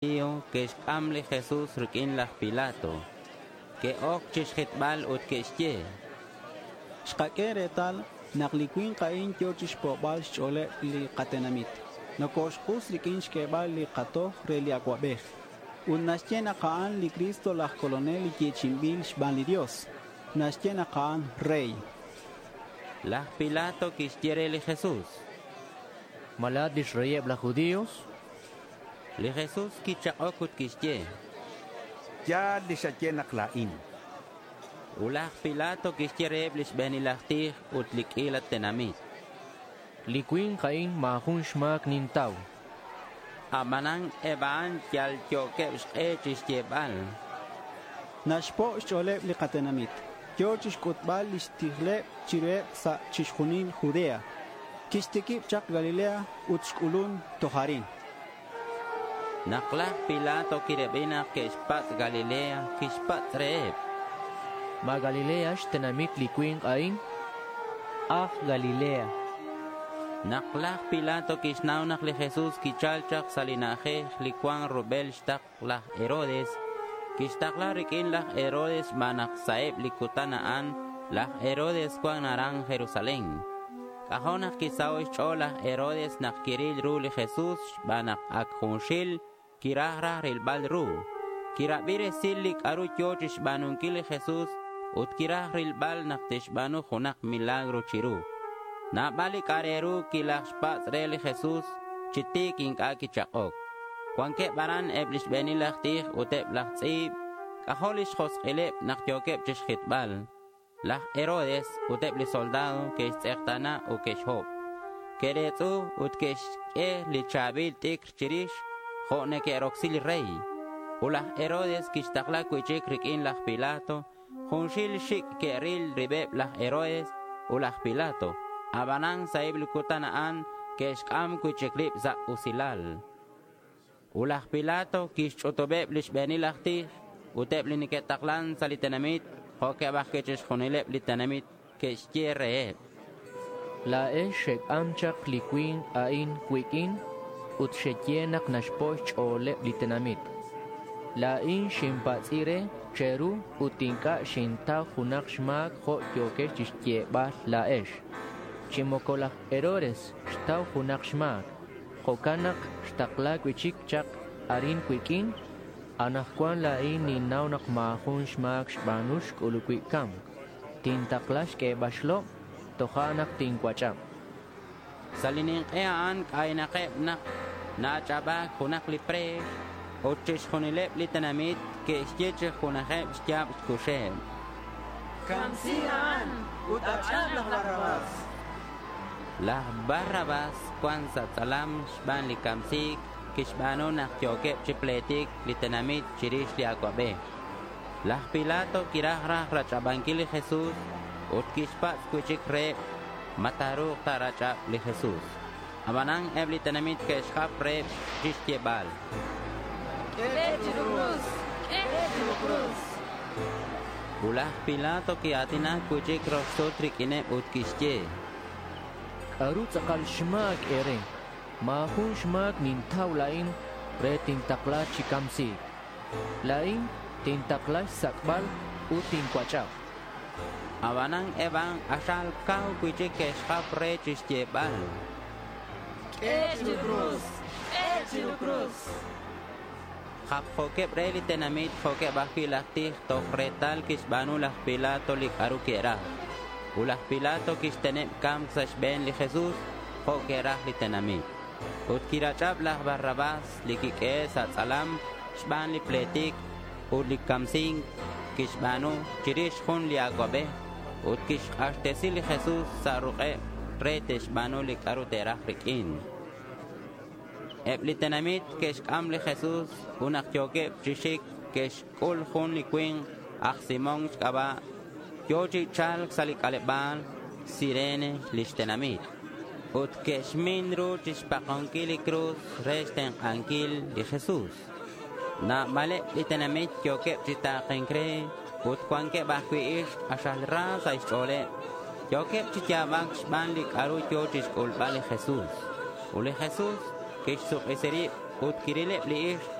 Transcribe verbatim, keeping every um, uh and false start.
Que'xc'am li Jesús riq'uin laj Pilato. Que'oc chixjitbal ut que'xye: —Xkaq'ue retal nak li cui̱nk a'in yo̱ chixpo'bal xch'o̱leb li katenamit. Nocoxk'us riq'uin xq'uebal li katoj re li acuabej. Ut naxye nak a'an li Cristo laj Colonel li yechi'inbil xban li Dios. Naxye nak a'an rey. Laj Pilato quixye re li Jesús: —¿Ma la̱at lix reyeb laj judío? Li Jesús quichak'oc ut quixye: —Ya̱l li xaye nak la̱in. Ut laj Pilato quixye reheb li xbe̱nil aj tij ut li q'uila tenamit: —Li cui̱nk a'in ma̱ jun xma̱c nintau. Abanan eb a'an yalyo̱queb xk'e chixyebal: —Naxpo' xch'o̱leb li katenamit. Yo̱ chixc'utbal lix tijleb chiruheb sa' chixjunil Judea. Quixtiquib chak Galilea ut xc'ulun toj arin. Nak laj Pilato quirabi nak que'xpatz' Galilea, quixpatz' reheb: —¿Ma Galilea xtenamit li cui̱nk a'in? —Aj Galilea. Nak laj Pilato quixnau nak li Jesús quichal chak sa' li na'ajej li cuan rubel xtakl laj Herodes, quixtakla riq'uin laj Herodes xban nak sa' eb li cutan a'an laj Herodes cuan aran Jerusalén. C'ajo' nak quisaho' xch'o̱l laj Herodes nak quiril ru li Jesús xban nak ac junxil quiraj raj rilbal ru. Quirabi resil li c'a'ru yo̱ chixba̱nunquil li Jesús ut quiraj rilbal nak tixba̱nu junak milagro chiru. Nabal li c'a' re ru quilajxpatz' re li Jesús. Chi ti̱c inc'a' quichak'oc. Cuanqueb aran eb li xbe̱nil aj tij ut eb laj tz'i̱b. C'ajo' lix josk'ileb nak yo̱queb chixjitbal. Laj Herodes ut eb li soldado que'xtz'ekta̱na ut que'xhob. Que'retz'u ut que'xq'ue li cha̱bil t'icr chirix jo' neque'rocsi li rey. Ut laj Herodes quixtakla cui'chic riq'uin laj Pilato. Junxil xic' que'ril ribeb laj Herodes ut laj Pilato. Abanan sa' eb li cutan a'an que'xc'am cui'chic rib sa' usilal. Ut laj Pilato quixch'utubeb li xbe̱nil aj tij ut eb li neque'taklan sa' li tenamit jo'queb ajcui' chixjunileb li tenamit. Quixye reheb: —La̱ex xec'am chak li cui̱nk a'in cuiq'uin ut xeye nak naxpo' xch'o̱leb li tenamit. La̱in xinpatz'i re che̱ru ut inc'a' xintau junak xma̱c jo' yo̱quex chixyebal la̱ex. Chi moco laj Herodes xtau junak xma̱c. Jo'can nak xtakla cui'chic chak arin cuiq'uin. Anakcuan la̱in ninnau nak ma̱ jun xma̱c xba̱nu xc'ulub cui' ca̱mc. Tintakla xq'uebal xlob. Tojo'nak tincuach'ab. Sa' li nink'e a'an c'aynakeb nak na-ach'aba̱c junak li pre̱x. Ut chixjunileb li tenamit que'xye chi junajeb xya̱b xcuxeb: —Camsi a'an ut ach'ab laj Barrabás. Laj Barrabás cuan sa' tz'alam xban li camsi̱c quixba̱nu nak yo̱queb chi pletic li tenamit chirix li acuabej. Laj Pilato quiraj raj rach'abanquil li Jesús ut quixpatz' cui'chic reheb ma ta̱ru̱k ta̱rach'ab li Jesús. Abanan eb li tenamit que'xjap reheb chixyebal: —Q'ue chiru cruz! Q'ue chiru cruz! Ut laj Pilato quia̱tinac cui'chic rox sut riq'uineb ut quixye: —¿C'a'ru tz'akal xma̱c e̱re? Ma̱ jun xma̱c nintau la̱in re tintakla chi camsi̱c. La̱in tintakla xsac'bal ut tincuach'ab. Abanan eb a'an k'axal cau cui'chic que'xjap re chixyebal: —Q'ue chiru cruz! Q'ue chiru cruz! Japjo̱queb re li tenamit jo'queb ajcui' laj tij toj retal quixba̱nu laj Pilato li c'a'ru que'raj. Ut laj Pilato quixteneb ca̱mc sa' xbe̱n li Jesús jo' que'raj li tenamit. Ut quirach'ab laj Barrabás li quiq'uehe' sa' tz'alam xban li pletic ut li camsi̱nc quixba̱nu chirix jun li acuabej. Ut quixk'axtesi li Jesús sa' ruk'eb re te'xba̱nu li c'a'ru te'raj riq'uin. Eb li tenamit que'xc'am li Jesús ut nak yo̱queb chi xic que'xc'ul jun li cui̱nk aj Simón xc'aba' yo̱ chi cha̱lc sa' li c'aleba̱l Cirene lix tenamit. Ut que'xmin ru chixpakonquil li cruz re xtenk'anquil li Jesús. Nabaleb li tenamit yo̱queb chi ta̱ke̱nc re ut cuanqueb ajcui' ixk k'axal ra sa' xch'o̱leb. Yo̱queb chi ya̱bac xban li c'a'ru yo̱ chixc'ulbal li Jesús. Ut li Jesús quixsuk'isi rib ut quirileb li ixk